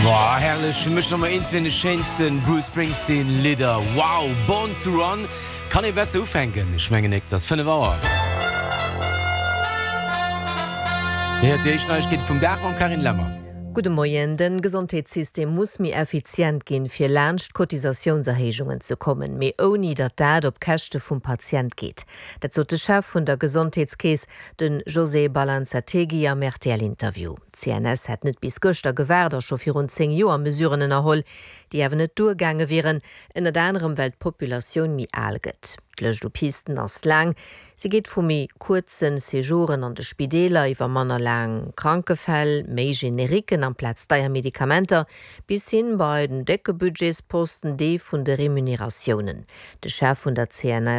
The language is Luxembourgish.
Boah, herrlech, fir mech nach mol eent vun de schéinsten Bruce Springsteen Lidder. Wow, Born to Run, kann ee besser ufänken? Ech mengen nek, 't ass 5 Auer. Dir héiert déi éischt Neiegkeete vum Dag mam Carine Lemmer. Gudde Moien. De Gesondheetssystem muss méi effizient ginn, fir laanscht d'Cotisatiounserhéijungen ze kommen, mee ouni datt dat op Käschte vum Patient geet. Dat sot de Chef vun der Gesondheetskeess, de José Balanzategui am RTL-Interview. D'CNS hätt net bis gëschter gewaart a scho virun 10 Joer Mesuren ënnerholl, déi awer net duergaange wieren, ënnert anerem well d'Populatioun méi al gëtt. D'Lëscht u Pisten ass laang. Si geet vu méi kuerze Séjouren an de Spideeler iwwer manner laang Krankefäll, méi Generiquen amplaz deier Medikamenter, bis hin bei den décke Budgetsposten, dee vun de Remuneratiounen. De Chef vun der CNS.